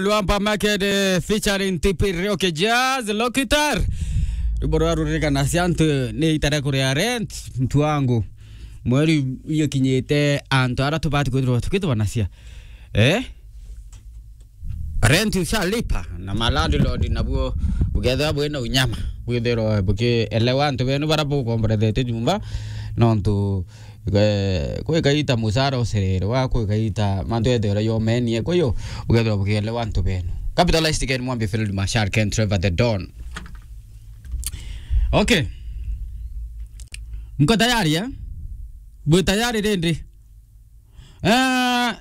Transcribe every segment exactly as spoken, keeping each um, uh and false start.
Luampa Market, eh, featuring T P Rock Jazz, Lokitar. Rwimbo rwa ruririkana cia antu ni itare kuria rent, mtu wangu. Mweri iyo kinyite, antu ara tubati kwithirwa tukitubanacia. Eh? Rent ushalipa, na ma landlord nabuo bukethirwa bwina unyama, bwithirwa bukielewa antu benu bara bukomborethetwe nyumba, nontu, eh, kwi kaita mucara ucererwa, kwi kaita mantu ethirwa yomenie, kwa hiyo bukethirwa bukielewa antu benu. Capitalized Ken Mwambi, Field Marshal Ken Trevor the Don. Okay. Mko tayari, eh? Bwi tayari rindi? Eh,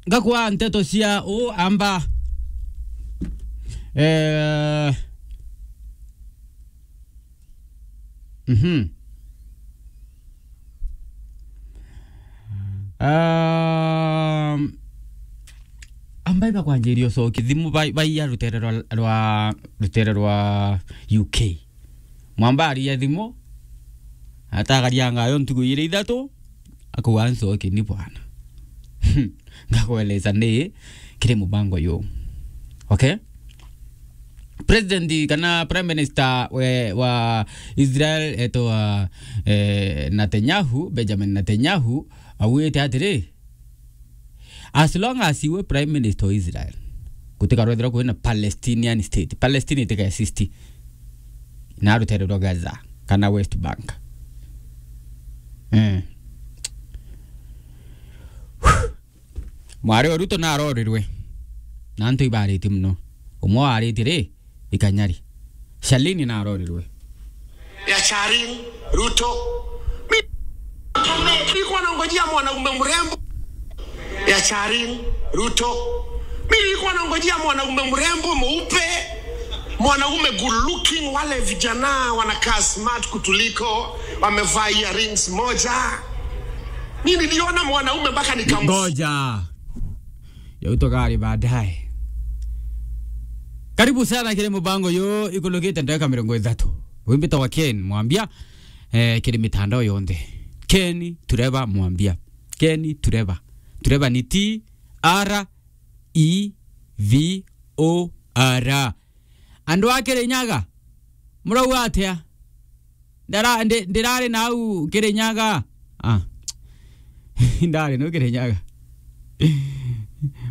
ngakwa nteto cia u amba. Eh, mhm. Um, amba iba kwanjiria ucoki thimu bai-, baiya rutere rwa, rwa, rutere rwa U K. Mwamba aria thimu, atagaria ngayo ntuku iri ithatu, akauga, "Ncoki ni bwana." Ngakweleza ni kiri mubango yu. Okay? President kana Prime Minister we, wa Israel etwa, eh, Netanyahu, Benjamin Netanyahu, augite atiri, as long as iwe Prime Minister wa Israel, gutikarwethirwa kwina Palestinian state. Palestine itika exist. Na rutere rwa Gaza, kana West Bank. Eh. Mwari o Ruto narorirwe. Na antu ibaritie muno. Umwe waritie ri, ikanyari. Shalini narorirwe. Ya Charin, Ruto. Mi-, nilikuwa nangojea mwanaume mrembo. Ya Charin, Ruto. Mi nilikuwa nangojea mwanaume mrembo, mweupe, mwanaume good looking, wale vijana wanakaa smart kutuliko, wamevaa earrings moja. Mi niliona mwanaume mpaka nikam- Ngoja. Yau tukari baadaye. Karibu sana kiri mubango yu ikulukite ndagika mirongo ithatu. Wimbitagwa Ken Mwambia, eh, kiri mitandao yonthe. Ken Trevor Mwambia. Ken Trevor. Trevor ni T R E V O R. Andu a Kirinyaga, murauga atia? Ndara-, ndi-, ndirari nau Kirinyaga. Ah. Ndari nau Kirinyaga.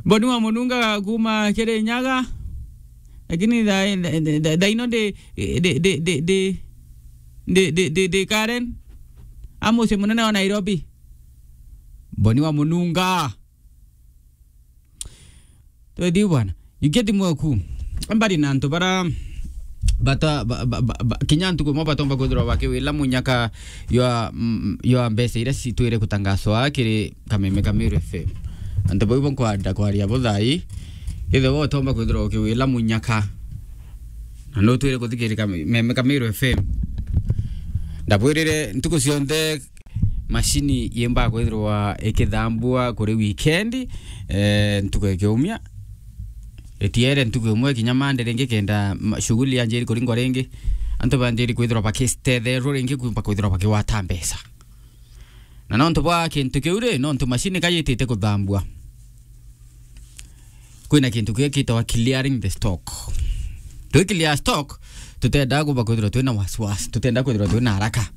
Boni wa Mununga kuma Kirinyaga. Lakini tha-, tha-, tha-, tha-, thaino ndi, ndi, ndi Karen. A mucii munene wa Nairobi. Boni wa Mununga. Twethi bwana. Iketi mweku. Mbari na antu bara bata-, ba-, ba-, ba-, ba-, kinya ntuku imwe batomba kwithirwa bakiwila munyaka ywa, mm, ywa mbeca iria citwire kutangaswa kiri Kameme ka Meru F M. Antu bau bo nkwenda kwaria bo thaa ii, ithe bo utomba kwithirwa ukiwila munyaka. Na nutwire kuthikirira Kameme ka Meru F M. Ndabwirire ntuku cionthe mashini yimba kwithirwa ikithambua kuri weekend, eh, ntuku ya kiumia. Itiere ntuku imwe kinya Monday ringi kenda ma-, shughuli yanjiri kuringwa ringi. Antu banjiri kwithirwa bakitetherwa ringi kumba kwithirwa bakigwata mbeca. Na nontu bwa kintu kiu ri, nontu mashini kayitite kuthambua. Kwina kintu kia kitawa clearing the stock. Twi clear stock, tutenda kuba kwithirwa twina wasiwasi, tutenda kwithirwa twina haraka.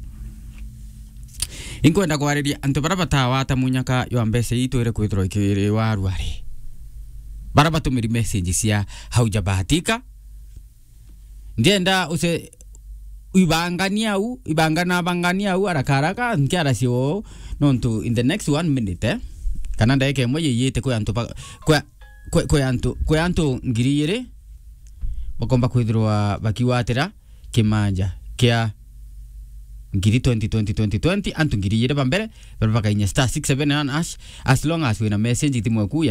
Inkwenda kwariria antu bara batawata munyaka ywa mbeca ii twire kwithirwa ikiriwa ruari. Bara batumiri message cia haujabahatika, ndienda uce-, ibangania au, ibangana bangania au haraka haraka, nkiaracia uu, nontu in the next one minute, eh, kana ndagika imwe yiyite kwi antu ba-, kwi, kwi, kwi antu, kwi antu ngiri igiri bakomba kwithirwa bakiwatira kimanja kia ngiri twenty, twenty, twenty, twenty, antu ngiri igiri ba mbere, baria bakainya star six seven one hash, as long as wina message thimu yaku ya